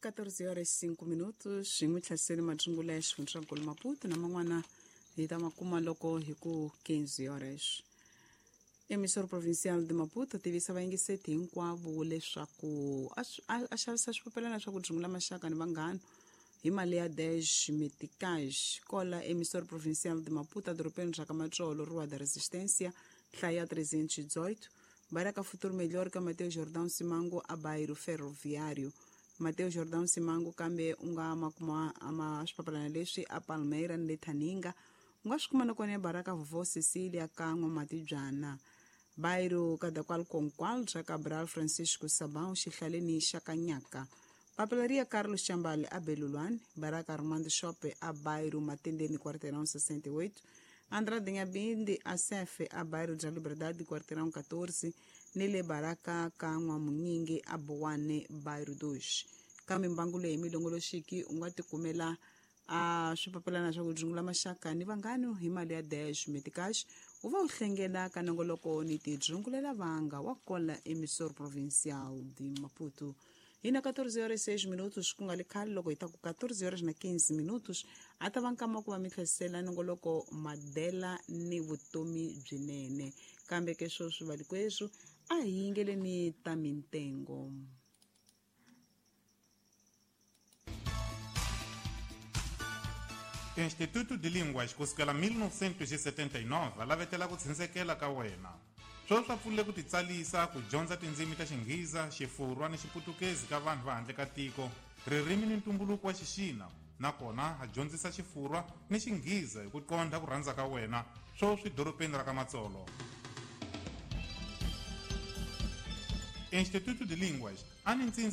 14 horas 5 minutos hi n'wi tlhaseni matsungula ya xifundzankulu Maputo na man'wana hi ta ma kuma loko hi ku 15 horas. Emissor Provincial de Maputo tivisa vayingiseti hinkwavo leswaku a xavisa swipapelana swa ku dzungula maxaka ni vanghana hi mali ya 10 meticais. Kola Emissor Provincial de Maputo, edorobeni ra ka Matsolo, Rua da Resistência, hlaya 318, Baraka Futuro Melhor ka Mateo Jordão Simango, a bairro Ferroviário. Mateo Jordão Simango, kambe u nga ma kuma ama swipapalana leswi a Palmeira ni le Thaninga. U nga swi kuma na kona ebaraka Vovó Cecília ka N'wamatibyana, bairro Cadaqual Conqual ra Cabral Francisco Sabão, xihlaleni xa Kanyaka. Papelaria Carlos Chambale a Belulwane, Baraka Armando Shope a bairro Matendeni, quarteirão 68, Andrade Nhabinde a Cefe a bairro da Liberdade, quarteirão 14, ni le Baraka ka N'wamunyingi a Bowane, bairro 2. Kambe mbangu leyi milongoloxiki u nga tikumela a swipapelana swa ku dzungula maxaka ni vanghano hi mali ya 10 meticais, u va u hlengela ka nongoloko ni tidzungulela vanga wa kola Emissor Provincial de Maputo. Hi na 14 horas 6 minutos, ku nga li khale loko hi ta ku 14 horas na 15 minutos a ta va nkama ku va mi tlhesela nongoloko Madela ni vutomi byinene. Kambe ke sweswi valikweswi a hi yingeleni ta mintengo. Instituto de Línguas kusukela 1979 va lavetela ku tshinsekela ka wena. Sweswi swa pfunile ku titsalisa ku dyondza tindzimi ta Xinghiza, Xifurwa ni Xiputukezi ka vanhu va handle ka tiko, ririmi ni ntumbuluko wa Xixina, nakona ha dyondzisa Xifurwa ni Xinghiza hi ku qondha ku rhandza ka wena, sweswi dorobeni ra ka Matsolo. Instituto de Línguas a ni ntsindza.